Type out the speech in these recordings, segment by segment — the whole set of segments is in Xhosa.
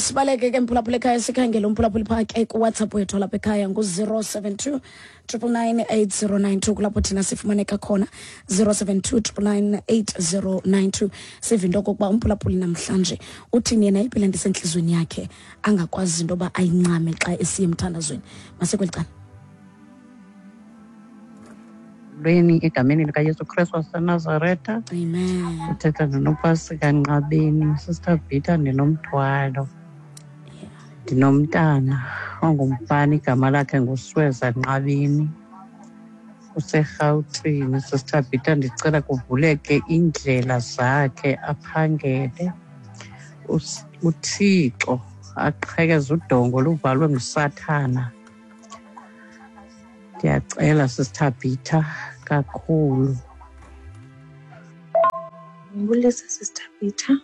Masibaleke ke, mphulaphula ekhaya, sikhangele umphulaphuli phaa ke kuWhatsApp wethu lapha ekhaya ngu-072 999 8092, kulapho thina sifumaneka khona, 072 999 8092. Sive into okokuba umphulaphuli namhlanje uthini yena, iphi le nto isentliziyweni yakhe angakwazi into yoba ayincame xa esiye emthandazweni. Masekweli cala. Lweni egameni likaYesu Kristu waseNazaretha. Amen. Uthetha ndinopasika Nqabeni. Sister Bhita, ndinomthwalo. Ndinomntana ongumfana, igama lakhe nguSweza Nqabeni. UseRhawutini. Sister Bhita, ndicela kuvuleke iindlela zakhe aphangele. UThixo aqhekeze udongo luvalwe nguSathana. Ndiyacela, Sister Bhita, kakhulu. Ngibulise, Sister Peter.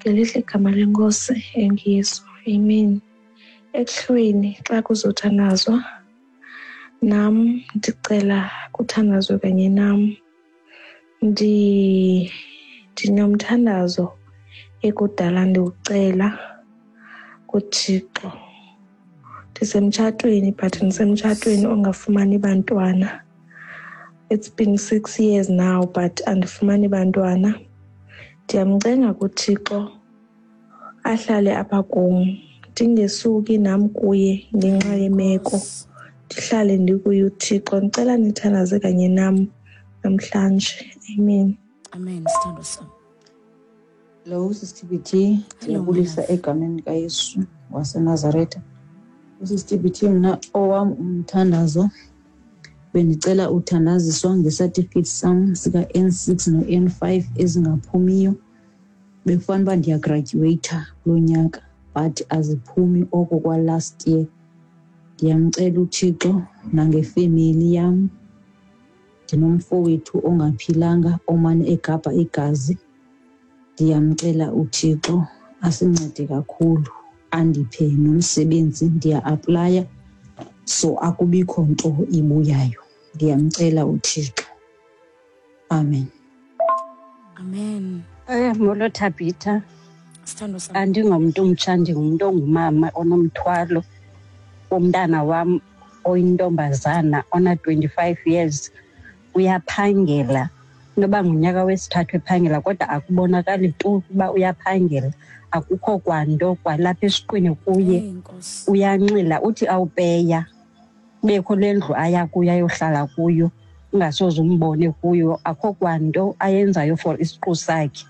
Ngelihle igama leNkosi enguYesu. Amen. Ekuhlweni xa kuzothandazwa, nam ndicela kuthandazwe kanye nam. Ndinomthandazo ekudala ndiwucela kuThixo. Ndisemtshatweni, but ndisemtshatweni ongafumani bantwana. It's been 6 years now, but andifumani bantwana. Ndiyamcenga kuThixo ahlale apha kum, ndingesuki nam kuye ngenxa yemeko, ndihlale ndikuye uThixo. Ndicela nithandaze kanye nam namhlanje. Amen. Amen, sithando sam. Hello, Sister BT. Ndiyabulisa egameni likaYesu waseNazaretha. USister BT, mna owam umthandazo bendicela uthandaziswa ngesatifiketi sam sika-N6 no-N5 ezingaphumiyo. Bekufanele uba ndiyagradyuweyitha kulo nyaka, but aziphumi oko kwa-last year. Ndiyamcela uThixo nangefemeli yam. Ndinomfowethu ongaphilanga omane egabha igazi. Ndiyamcela uThixo asincede kakhulu, andiphe nomsebenzi. Ndiya-aplaya, so akubikho nto ibuyayo. Ndiyamcela uThixo. Amen. Amen. Molo Thabitha. Sithando sam. Andingomntu umtsha, ndingumntu ongumama onomthwalo womntana wam oyintombazana ona-25 years. Uyaphangela, inoba ngunyaka wesithathu ephangela, kodwa akubonakali tu ukuba uyaphangela. Akukho kwanto kwalapha esiqwini kuye. Eyi, Nkosi. Uyanxila, uthi awupeya kubekho le ndlu aya kuyo ayohlala kuyo, ungasoze umbone kuyo. Akho kwanto ayenzayo for isiqu sakhe,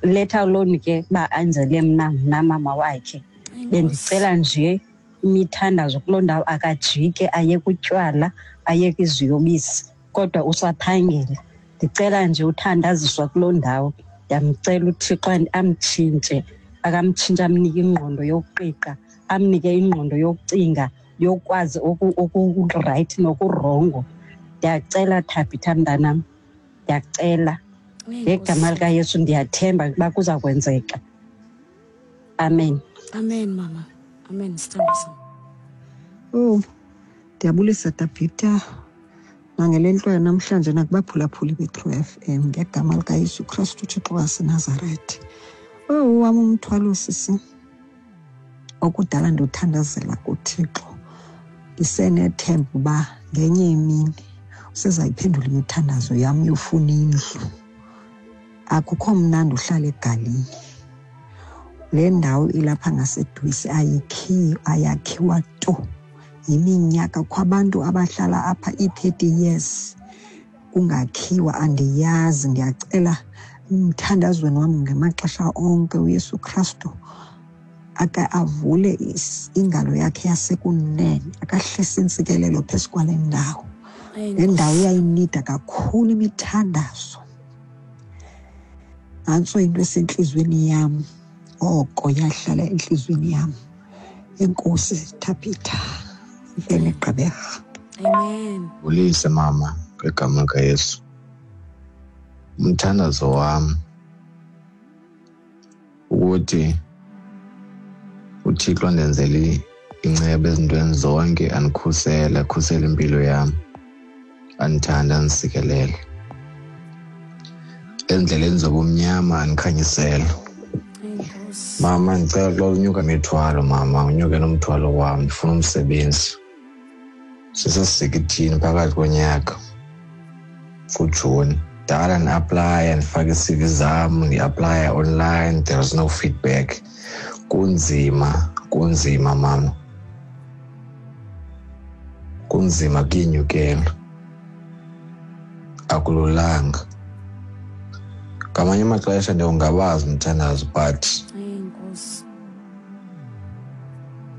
let alone ke uba anzele mna, mna mama wakhe. Bendicela nje imithandazo kuloo ndawo, akajike aye kutywala, ayeke iziyobisi, kodwa usaphangela. Ndicela nje uthandaziswa kuloo ndawo. Ndiyamcela uThixo amtshintshe, akamtshintshe, amnike ingqondo yokuqiqa, amnike ingqondo yokucinga, yokwazi okurayithi nokurongo. Ndiyacela, Thabitha mntanam, ndiyacela ngegama likaYesu. Ndiyathemba ukuba kuza kwenzeka. Amen. Amen, mama. Amen, sithando sam. Oh, ndiyabulisa Tabitha nangele nto yanamhlanje nakubaphulaphuli be-True FM ngegama likaYesu Kristu, uThixo waseNazaretha. Oh, wam umthwalo, sisi, okudala ndiwuthandazela kuThixo, ndisenethemba uba ngenye imini usezayiphendula imithandazo yam yofuna indlu. Akukho mnandi uhlala egalini. Le ndawo ilapha ngaseDwesi ayikhiyo, ayakhiwa tu. Yiminyaka kukho abantu abahlala apha ii-30 years kungakhiwa, andiyazi. Ndiyacela emthandazweni wam ngamaxesha onke uYesu Kristu ake avule ingalo yakhe yasekunene, akahlise intsikelelo phezu kwale ndawo. Le ndawo iyayinida kakhulu imithandazo. Nantso into esentliziyweni yam, oko yahlala entliziyweni yam. Enkosi Thabitha, mfene Gqeberha. Amen. Bulise mama, ngegama likaYesu. Umthandazo wam ukuthi uThixo andenzele inceba ezintweni zonke, andikhusele, akhusele impilo yam, andithande, andisikelele. Ezindleleni zobumnyama andikhanyisele. Mama, ndicela xa unyuka imithwalo, mama, unyuke nomthwalo wam, ndifuna umsebenzi. Sisesikithini phakathi konyaka kuJuni. Dala ndiaplaya, ndifake ii-CV zam, ndiaplaya online, there is no feedback. Kunzima, kunzima mama, kunzima, kuyenyukela, akululanga. Ngamanye amaxesha ndiyongabazi umthandazo, but Enkosi.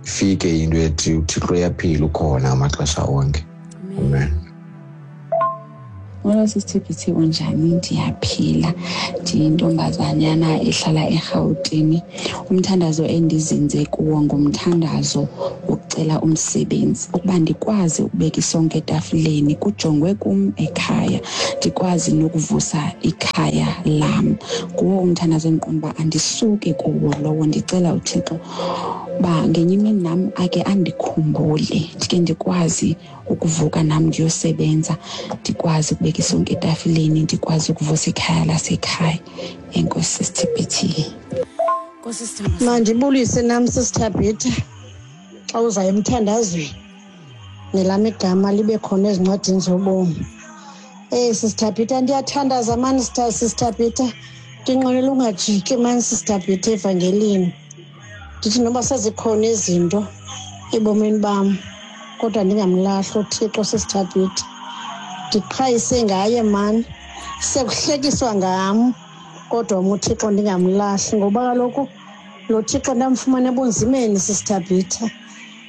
Ifike into ethi uThixo uyaphila, ukhona ngamaxesha onke. Amen. Molo sisiTBT, unjani? Ndiyaphila. Ndiyintombazanyana ehlala eRhawutini. Umthandazo endizinze kuwo ngumthandazo wokucela umsebenzi, ukuba ndikwazi ukubeka isonka etafileni, kujongwe kum ekhaya, ndikwazi nokuvusa ikhaya lam. Nguwo umthandazo endiqonda uba andisuki kuwo lowo. Ndicela uThixo uba ngenye imini nam ake andikhumbule, ndike ndikwazi ukuvuka nam ndiyosebenza, ndikwazi ukubeka isonka etafileni, ndikwazi ukuvusa ikhaya lasekhaya. Enkosi sisiTBT. Nkosi sithandwa sam. Mandibulise nam sisiThabitha, xa uza emthandazweni nelam igama libe khona ezincwadini zobomi. SisiThabitha, ndiyathandaza mani sisiThabitha, ndinqwenela ungajiki mani sisiThabitha evangelini. Ndithi noba sezikhona izinto ebomini bam, kodwa ndingamlahli uThixo sisiThabitha. Ndiqhayise ngaye mani, sekuhlekiswa ngam, kodwa mna uThixo ndingamlahli, ngoba kaloku lo Thixo ndamfumana ebunzimeni sisiThabitha.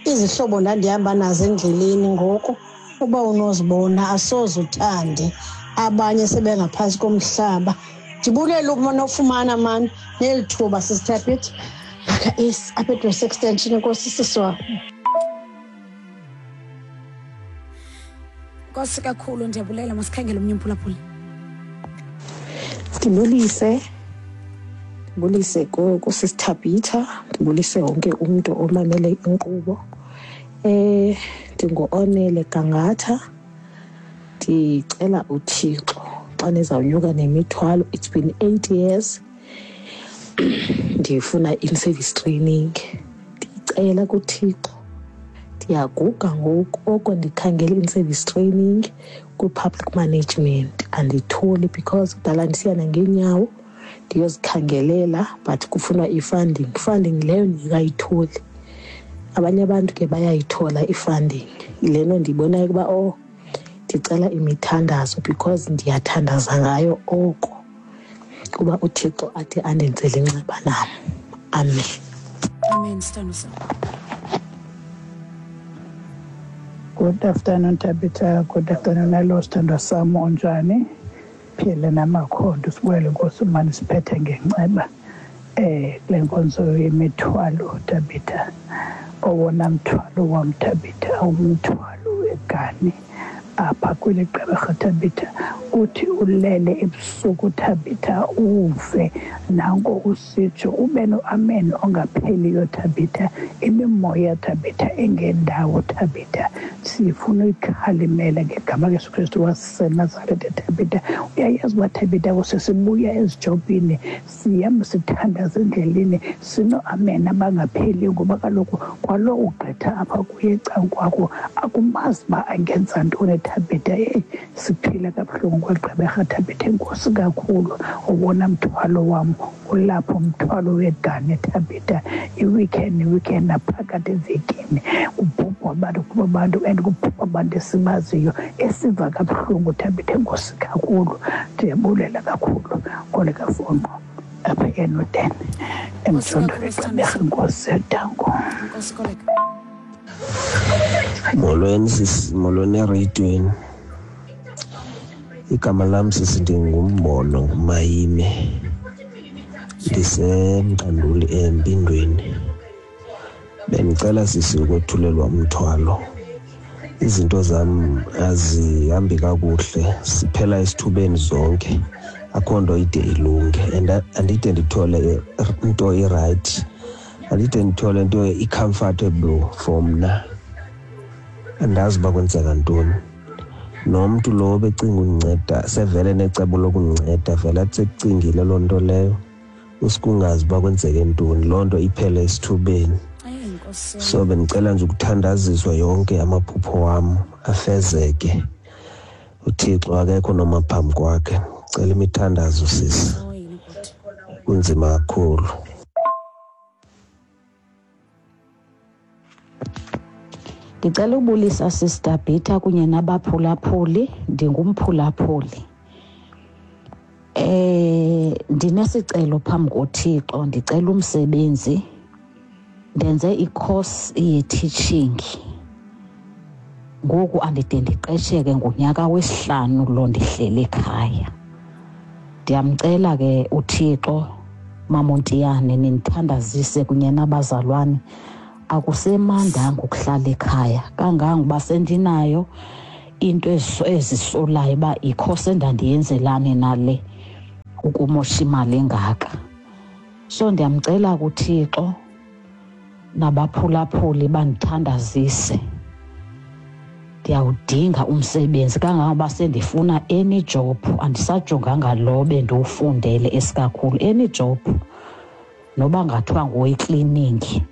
Izihlobo ndandihamba nazo endleleni ngoku uba unozibona asoze uthande, abanye sebengaphantsi komhlaba. Ndibulela ukuba nofumana mani neli thuba sisiThabitha. Aka is apha eDress Extension. Enkosi sisi wam. Nkosi kakhulu, ndiyabulela. Masikhangele omnye umphulaphuli. Ndibulise kusisiThabitha, ndibulise wonke umntu omamele inkqubo. Ndingu-Onele Gangatha. Ndicela uThixo xa nizawunyuka nemithwalo, it's been 8 years ndifuna in-service training. Ndicela kuThixo, ndiyaguga ngoku, oko ndikhangela in-service training kwi-public management anditholi, because kudala ndisiya nangeenyawo ndiyozikhangelela, but kufunwa i-funding. Funding leyo ndingayitholi. Abanye abantu ke bayayithola i-funding. Le nto ndiyibonayo ukuba, oh, ndicela imithandazo, because ndiyathandaza ngayo oko, kuba uThixo athi andenzele inceba nam. Amen. Amen, sithando sam. Good afternoon, Tabitha. Good afternoon, hello, sithandwa sam, unjani? Phile namakhondo, sibuyele Nkosi mani siphethe ngenceba. Kule nkonzo yemithwalo, Tabitha. Owona mthwalo wam, Tabitha, umthwalo wegani apha kweli Gqeberha, Tabitha. Uthi ulele ebusuku, Tabitha, uve nanko usitsho ube no-amen ongapheliyo, Tabitha. Imimoya, Tabitha, engendawo, Tabitha, sifuna uyikhalimela ngegama kaYesu Kristu waseNazaretha, Tabitha. Uyayazi uba, Tabitha, kusesibuya ezijobhini, sihamba sithandaza endleleni, sino-amen abangapheliyo, ngoba kaloku kwalo ugqitha apha kuye ecangkwakho akumazi uba angenza ntoni, Tabitha. Eyi, siphila kabuhlungu kwaGqeberha, Tabitha. Enkosi kakhulu. Owona mthwalo wam ulapho, umthwalo wegane, Tabitha. I-weekend ne-weekend naphakathi evekini kubhubhwa abantu, kubhubha abantu, and kubhubha abantu esibaziyo esiva kabuhlungu, Tabitha. Enkosi kakhulu, ndiyabulela kakhulu. Koleka Fonqo apha eNoden, emjondolo eGqeberha. Enkosi, danko. Nkosi Koleka. Molweni sisi, molweni ereyidweni. Igama lam sisi ndinguMbono nguMayime, ndiseMqanduli eMpindweni. Bendicela sisi ukwethulelwa umthwalo. Izinto zam azihambi kakuhle, siphela esithubeni zonke, akho nto ide ilunge, and andide ndithole into irayithi, andide ndithole into i-comfortable for mna. Andazi uba kwenzeka ntoni. Nomntu lo becinga undinceda sevele necebo lokundinceda, vele athi sekucingile loo nto leyo. Usikungazi uba kwenzeke ntoni, loo nto iphele esithubeni. So bendicela nje ukuthandaziswa yonke amaphupho wam afezeke. UThixo akekho noma phambi kwakhe. Cela imithandazo sisi. Kunzima kakhulu. Ndicela ubulisa Sister Bhitha kunye nabaphulaphuli, ndingumphulaphuli. Ndinesicelo phambi koThixo, ndicela umsebenzi. Ndenze i-course ye-teaching. Ngoku andide ndiqesheke, ngunyaka wesihlanu lo ndihleli ekhaya. Ndiyamcela ke uThixo, Mamontiyane, nindithandazise kunye nabazalwane. Akusemandanga ukuhlala ekhaya kangangoba sendinayo into ezisolayo uba ikhosi endandiyenzelani nale ukumosha imali engaka. So ndiyamcela kuThixo nabaphulaphuli bandithandazise. Ndiyawudinga umsebenzi kangangoba sendifuna any job, andisajonganga lo bendiwufundele esikakhulu, any job noba ngathiwa ngoyi-cleaning,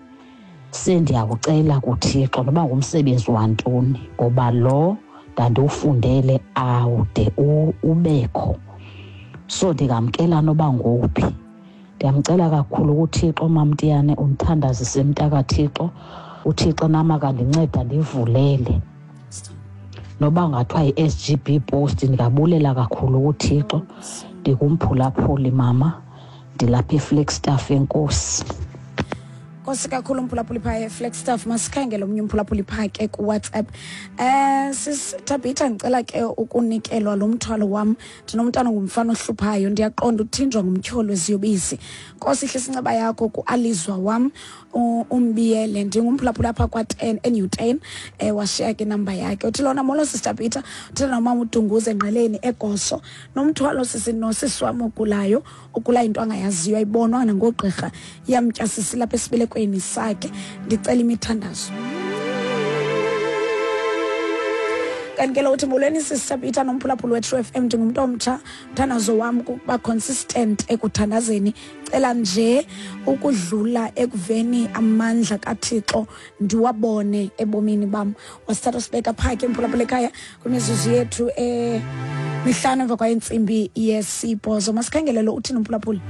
sendiyawucela kuThixo noba ngumsebenzi wantoni, ngoba lo ndandiwufundele awude ubekho. So ndingamkela noba ngowuphi. Ndiyamcela kakhulu kuThixo, Mamtiyane, undithandazise mntakaThixo. uThixo nam akandinceda ndivulele noba ngathiwa yi-S G B post, ndingabulela kakhulu kuThixo. Ndingumphulaphuli mama, ndilapha eFlagstaff. Enkosi. Nkosi kakhulu umphulaphuli phaa eFlagstaff. Masikhangele omnye umphulaphuli phaa ke kuWhatsApp. Sis Thabitha, ndicela ke ukunikelwa lo mthwalo wam. Ndinomntana ongumfana ohluphayo, ndiyaqonda uthinjwa ngumtyholo weziyobisi. Nkosi, ihlisa inceba yakho kuAlizwa wam, umbiyele. Ndingumphulaphuli apha kwa-10 eNew 10. Washiya ke inamba yakhe. Uthi lona, molo Sister Peter, uthetha nomama uDunguze engqeleni eGoso. Nomthwalo sisi nosisi wam ogulayo, ugula into angayaziyo, ayibonwa nangogqirha, iyamtya sisi lapha esibelekweni sakhe. Ndicela imithandazo. Kanti ke lo uthi, molweni Sister Peter nomphulaphuli we-True FM, ndingumntu omtsha. Umthandazo wam kukuba consistent ekuthandazeni. Cela nje ukudlula ekuveni amandla kaThixo ndiwabone ebomini bam. Wasithatha sibeka phaa ke mphulaphula ekhaya kwimizuzu yethu 5 emva kwayentsimbi yesibhozo. Masikhangele lo uthini umphulaphuli.